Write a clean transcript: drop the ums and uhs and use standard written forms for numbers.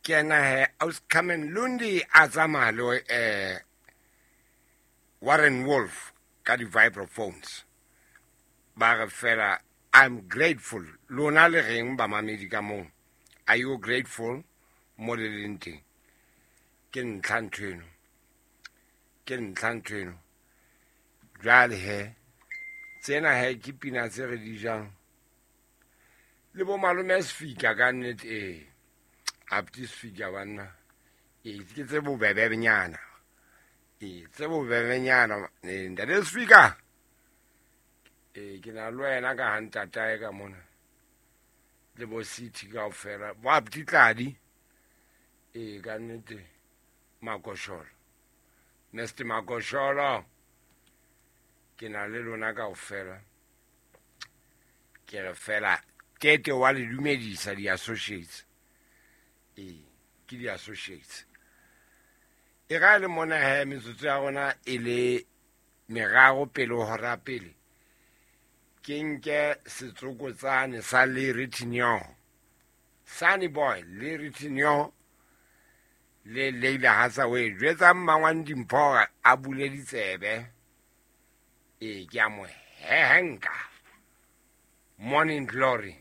Ke ena he Auscarmen Lundi a tsamaya le Warren Wolf ka di-vibraphones. Ba re fela I'm grateful. Lona le reng bamamedi ka moo? Are you grateful mo le leng teng? Ke ntlha ntho eno. Ke ntlha ntho eno. Jwale he tsena he ke pina tse re di jang le bo malome Sefika ka nnete. Ee, apti Sefika banna, ee ke tse bobebenyana, ee tse bobebenyana. Ee ntate Sefika, ee ke na le wena ka ha ntatae ka mona le bo city kaofela bo apti Tladi. Ee ka nnete Makosholo, Mr Makosholo, ke na le lona kaofela. Ke re fela tete wa le dumedisa di-associates. Ee ke di-associates e ga le mona he metsotso ya rona e le meraro pele ho hora pele. Ke nke setsokotsane sa Larry Tinyo, Sunny Boy Larry Tinyo le Leila Hathaway. Jwetsa mmangwane Dimpho hore a bule ditsebe. Ee ke a mo hehenka. Morning Glory.